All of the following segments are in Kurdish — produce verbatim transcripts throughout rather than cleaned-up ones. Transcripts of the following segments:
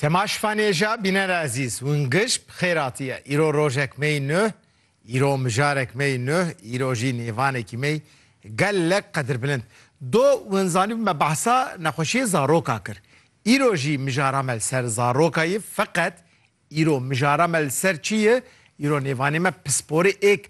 Temaşvanêja bîner ezîz, hûn giş bi xêr hatiye. Îro rojek me yî nuh, îro mijarek me yî nuh, îro jî nêvanekî me yî gelek qedirbilind. Do hûn zanîbin me behsa nexweşiyê zaroka kir. Îro jî mijara me li ser zaroka ye, feqet îro mijara me li ser çi ye? Îro nêvanê me pisporê êk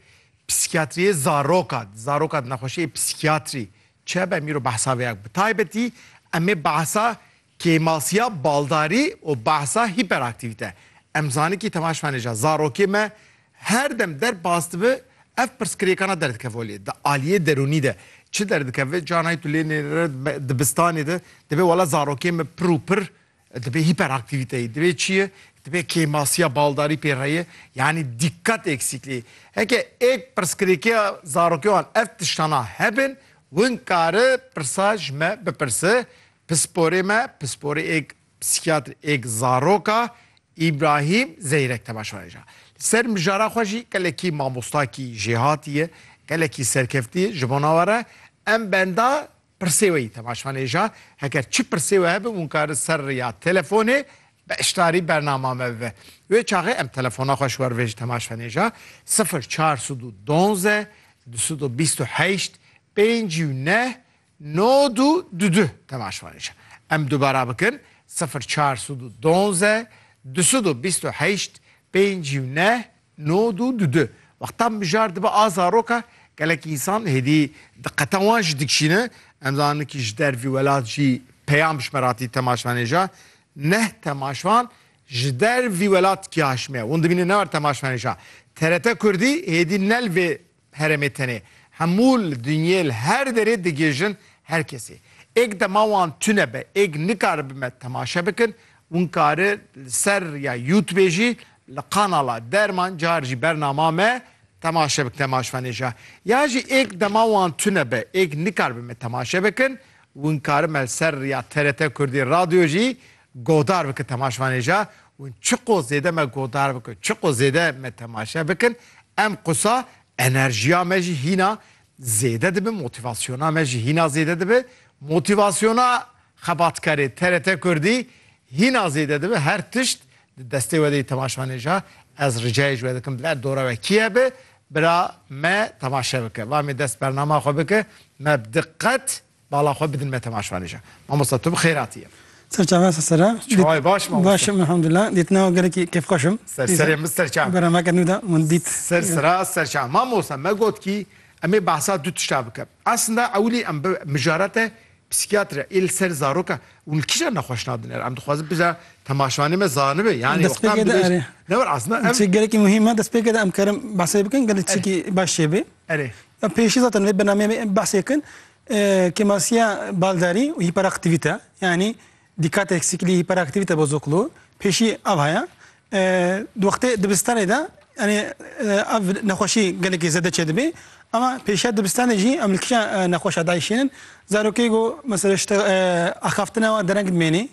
psîkiyatriyê zaroka, zaroka di nexweşiyê psîkiyatrî çi hebe, em îro behsa vê yek. Bi taybetî em ê behsa kêmasiya baldarî û behsa hîperaktîvîte. Em zanikî temaşvanêja zarokê me her dem derbas dibe, ev pirsgirêkana derdikeve holê. Di aliyê derûnî de çi derdikeve? Canayî tu lê nêre dibistanê de, dibê wela zarokê me pir û pir Dibê hîperaktîvîteyî, dibê çi ye? Dibê kêmasiya baldarî pê re ye, yanî dîkkat eksikliği. Heke êk pirsgirêkiya zarokê wan ev tiştana hebin, win kare pirsa ji me bipirse, pisporê me, pisporê êk psîkiyatr, êk zaroka, Îbrahîm Zeyrek temaşvanêja. Li ser mijara xwe jî gelekî mamostakî jêhatî ye, gelekî serkeftî ye, ji bona we re em benda pirsê we yî temaşvanêja. Heger çi pirsê we hebe, hûn karin ser riya telefonê beşdarî bernama me bibe. Wê çaxê em telefona xwe ji we re vêjin temaşvanêja. Sifir çar sed û donze, du sed û bîst û heşt, pêncî û neh, nod û dudu temaşvanêja. Em dubara bikin, sifir çar sed û donze, du sed û bîst û heşt, pêncî û neh, nod û dudu. Wexta mijar dibe a zaroka, gelek însan hêdî diqeta wan jî dikişîne. Em zanin ki ji dervî welat jî peyam ji me re hatî temaşvanêja. Neh temaşvan ji dervî welat kiya ji me. Hûn dibînin ne wer temaşvanêja. T R T Kurdî hêdî ne li vê herêmê tenê. Hemû li dinyê li her derê digihêjin her kesê. Êk dema wan tune be, êk nikaribe me temaşe bikin, hûn kari li ser ya YouTube jî li kanala Derman car jî bernama me temaşe bikin temaşvanêja. Ya jî êk dema wan tune be, êk nikaribe me temaşe bikin, hûn kari me li ser ya T R T Kurdî Radyo jî godar bikin temaşvanêja. Hûn çiqo zêde me godar bikin, çiqo zêde me temaşe bikin, em qusa enerjiya me jî hîna zêde dibe, motivasyona me jî hîna zêde dibe. Motivasyona xebatkarê T R T Kurdî hîna zêde dibe. Her tişt di destê we de yî temaşvanêja. Ez ricayê ji we dikim, bila dora we kî hebe, bira me temaşe bike. Va me dest bernama xwe bike, me bi diqet bala xwe bidin me temaşvanêja. Mamosta, tu bi xêr hatiye. Ser çava, ser sera. Çawayê baş, mamosta? Baş im, elhamdulillah. Dîtina we gelekî kêfxweş im. Ser serê min, ser çav. Berameke nû de min dît. Ser sera, ser çav. Mamosta, me got ki em ê behsa du tişta bikin. Aslında ewilî em bi mijarate psîkiyatra ê li ser zaroka û li kîja nexweşna dinêre. Em dixwazin biza temaşvanê me zanibe. Yani wexta em dibêjin. Ne wer aslında em... Çi gelekî muhîm e, destpêkê de em karin behsê bikin, gelek çîkî baş çêbe. Erê. Ya pêşî zaten vê bernameyê em behsê kin, e, kêmasiya baldarî û hiperaktivite, yani dîkat eksikliği, hiperaktivite bozukluğu, pêşî ev haya. E, di wextê dibistanê de, yani, e, ev nexweşî gelekî zêde çêdibê. Ama pêşiya dibistanê jî em li kîja, e, nexweşa dayîşênin. Zarokê ku mesela işte, e, axaftina wan dereng dimênê.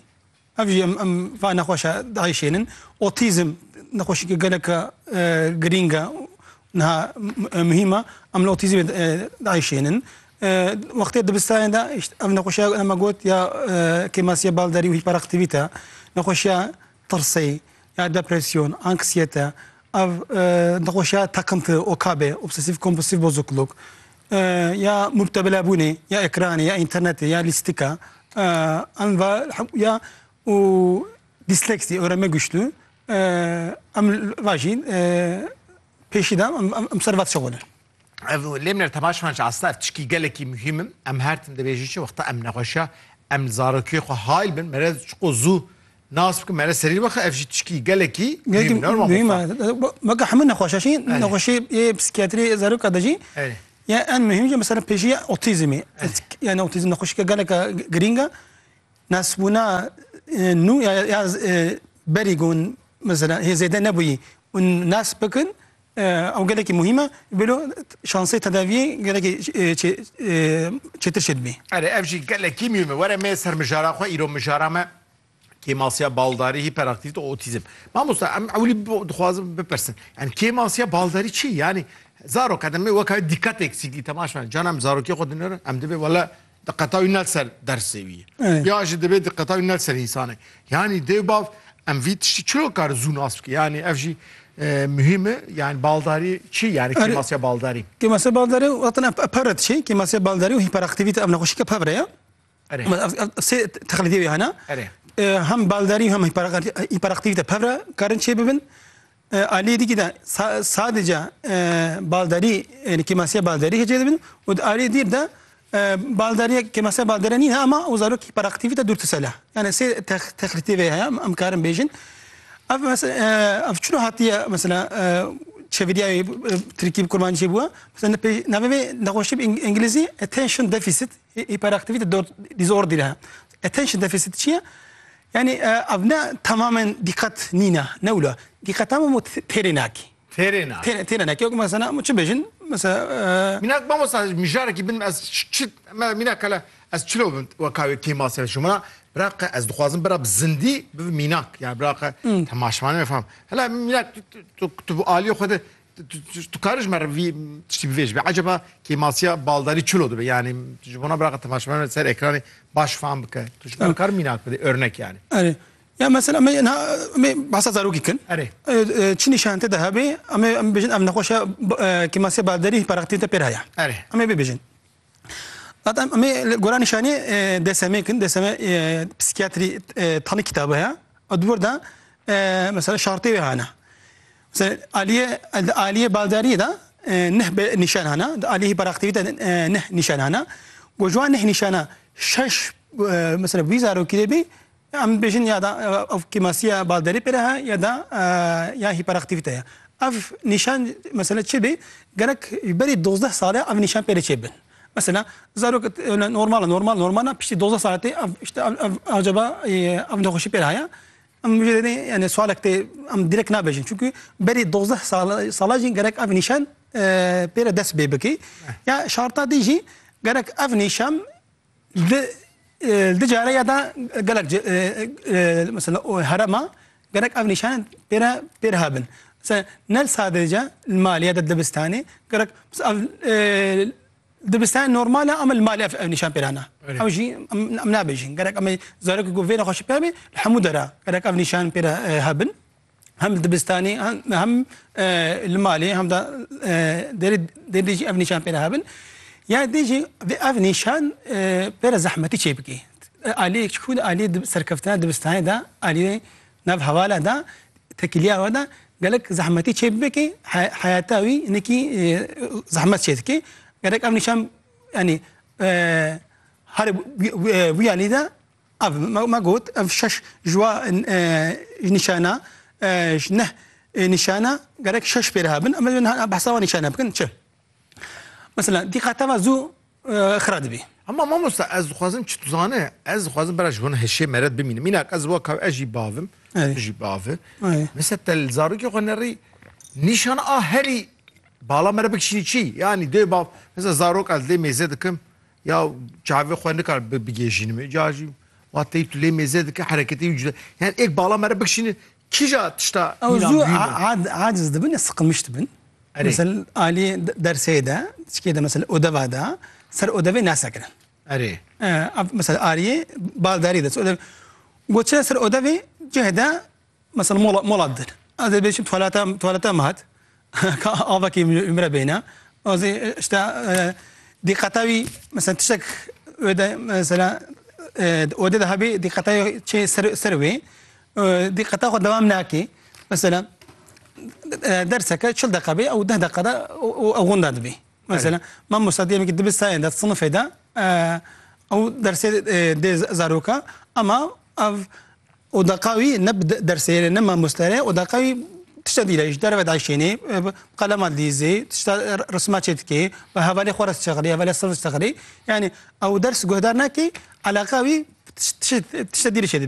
Ev jî em, em va nexweşa dayîşênin. Otîzm nexweşîke geleke, e, girîng e, niha m-, e, muhîm e. Em li otîzmê, e, dayîşênin. E, wextê dibistanê de, işte, ev nexweşiya me got ya, e, kêmasiya baldarî û hiperaktivite, nexweşiya tirsê, ya depresyon, anksiyete, ev, e, nexweşiya takıntı, OKB, obsesif kompulsif bozukluk, e, ya mubtebelabûnê, ya ekranê, ya internetê, ya lîstika, e, em va, ya û disleksi, öğrenme güçlüğü, e, em va jî, e, pêşî de em, em, em ser va dişixulin. Ev lê min re temaşevan jî aslında ev tişkî gelekî muhîm in. Em her tim dibêjin çi wexta em nexweşiya, em li zarokiyê xwe hayl bin, mere çiqo zû nas bikin, mere serî bixe, ev jî tişkî gelekî muhîm in. Muhîm e. Weke hemû nexweşa jî, nexweşê yê psîkiyatrî zaroka de jî, ya en muhîm jî mesela pêşî ya otîzmê. Yani otîzm nexweşîke geleke girîng e. Nasbûna, e, nû ya, ya, e, berî ku hûn mesela hê zêde nebûyî, hûn nas bikin, e, ew gelekî muhîm e, bêlo şansê tedaviyê gelekî, e, çê-, e, çêtir çêdibê. Erê, ev jî gelekî muhîm e. Were me ser mijara xwe, îro mijara me kêmasiya baldarî, hiperaktivite û otîzm. Mamosta, em ewilî bi-, dixwazin bipirsin. Yani kêmasiya baldarî çi? Yani zarok, em ê weka dîkat eksikliği temaşe, cana em zarokê xwe dinêrin, em dibê wele diqeta wî ne li ser dersê wî ye. Evet. Ya jî dibê diqeta wî ne li ser însanê. Yanî dê û bav em vî tiştî çilo kar zû nas bike. Yani ev jî, e, muhîm e. Yani baldarî çi? Yani Erê. Kêmasiya baldarî. Kêmasiya baldarî, zaten ev, ev pevre dişê. Kêmasiya baldarî û hiperaktivîte, ev nexweşîke pevre ye. Erê. Ama ev, ev sê texlîtê wê hene. Erê. E, hem baldarî hem hiperak-, hiperaktivîte pevre karin çê bibin. E, aliyê dîkî de sa-, sadece, e, baldarî, yani kêmasiya baldarî hecê dibin û di aliyê dîr de, e, baldariye, kêmasiya baldere nîne ama o zarok hiperaktivîte dûrtisel e. Yani sê tex-, texlîtê vê heye, em, em karin bêjin. Ev mes-, e, ev çilo hatiye mesela, e, çeviriya wê, e, tirkî bi kurmancî bûye. Mesela ne pê-, navê vê nexweşî bi îng-, îngilîzî attention deficit hi-, hiperaktivîte dor-, disorder e. Attention deficit çi ye? Yani, e, ev ne tamamen dîqet nîne, ne wilo. Dîqet ama mu t-, têrê nakî. Têrê nakî. Têrê, têrê nakî. Yok mesela, mu çi bêjin? Mesela, e, Mînak, mamosta, mijarekî bin ez ç-, çi, me, mînak hele ez çilo bin weka wê kêmasiya ji mina. Bira qe ez dixwazim bira bi zindî bi mînak. Yani bira qe temaşevanê me fam. Hele mînak tu, tu, tu, tu bu aliyê xwe de Tu, tu, tu, tu karî ji me re vî tiştî bivêjibî. Eceba kêmasiya baldarî çilo dibe? Yani ji bona biraqa temaşevanê ser ekranê baş fam bike. Tu ji me re kar mînak bide, örnek yani. Erê. Ya mesela me, na, me behsa zarokî kin. Erê. E, e, çi nîşan tê de hebe, em ê, em bêjin ev nexweşiya, e, kêmasiya baldarî hiperaktivîte pê re heye. Erê. Em ê bibêjin. Zaten em ê li gora nîşanê, e, D S M kin, D S M, e, psikiyatrî, e, tanî kitabı heye. Û di wir de, e, mesela şartê wê hene. Mesela aliyê, aliyê baldariyê de, e, neh be nîşan hene, di aliyê hiperaktivîte, e, neh nîşan hene. Ku ji wan neh nîşana şeş, e, mesela wî zarokî de bî, em bêjin ya da, e, ev kêmasiya baldarî pê re he, ya da, e, ya hiperaktivîte ye. Ev nîşan, mesela çi bê, gerek berî dozdeh sale ev nîşan pê re çêbin. Mesela zarok öyle normal, normal, normal, piştî dozdeh sale tê, ev, işte ev, ev, acaba, e, ev nexweşî pê re heye? Em jê re, yani sualek tê, em direkt nabêjin. Çünkü berî dozdeh sala, sala jî gerek ev nîşan, e, pê re dest pê bikî. Ya şarta dî jî gerek ev nîşan li, e, li care ya da gelek ce-, e, e, mesela o herema gerek ev nîşan pê re, pê re hebin. Mesela ne sadece li malê ya da dibistanê, gerek mesela ev, e, dibistanê normal e, ama li malê ev, ev nîşan pê re hene. Öyle. Ew jî em, em nabêjin. Gerek em ê zarokê ku vê nexweşî pê hebe, li hemû dera gerek ev nîşan pê re, e, hebin. Hem li dibistanê, hem, hem, e, li malê, hem de, e, derê, derê jî ev nîşan pê re hebin. Ya dê jî vê ev nîşan, e, pê re zehmetî çê bike. E, aliyê çikû de, aliyê dib-, serkeftina dibistanê de, aliyê nav hevala de, tekiliya we de gelek zehmetî çê bibe ki he-, heyata wî hinekî, e, zehmet çê dike. Gerek ev nîşan, yani, e, her wî, wî, wî alî de ev me, me got, ev şeş ji wa, e, ji nîşana, e, ji neh, e, nîşana gerek şeş pê re hebin. Em ê behsa wan nîşana bikin. Çi? Mesela dîqeta ve zû, e, xira dibî. Ama mamosta, ez dixwazim çi tu zane, ez dixwazim bera ji hûn hişê meret bimînim. Mînak ez wek ez jî bavim, Ey. tu jî bavi. Ey. Mesela te li zarokê xwe nerî nîşana a herî bala mere bikişînî çi? Yani dê bav, mesela zarok ez lê mêze dikim, ya çavê xwe nikar bi-, bigêjînim. Ca jî wa tey tu lê mêze dike, hereketê wî cuda. Yani êk bala mere bikişînî, kîja tişta Ew mîna zû muhîm e? a-, ad-, aciz dibin, ya sıkılmış dibin. Erê. Mesela alî de-, dersê de, çikê de mesela odeva de, ser odevê nasekirin. Erê. E, av-, mesela aliyê baldarî de, ser odev-, goçe ser odevê cihê de, mesela mola, mola didin. Ez ê bêjim tuvaleta, tuvaleta me hat. Ka avakî min, min re bêne. Ez ê, işte, e, dîqeta wî, mesela tiştek ode, mesela, e, ode de hebî dîqeta wî çê ser, ser wê. E, dîqeta xwe dewam nake. Mesela, e, derseke çil deqa bê, ew deh deqa de ew, ew, ew winda dibî. Mesela, Evet. mamosta diyelim ki dibistanê de, sinifê de, e, ew dersê, e, dê z-, zaroka, ama ev odaqa wî ne bi de-, dersê ne mamoste re, odaqa wî tişta dîle, ji derve daşênê, e, bi qelema dîzê, tişta r-, risma çêdikê, bi hevalê xwe re dişexilê, hevalê sinif dişexilê. Yani ew ders guhdar nake, alaqa wî tiş-, tiş-, tişta dîle çêdibî.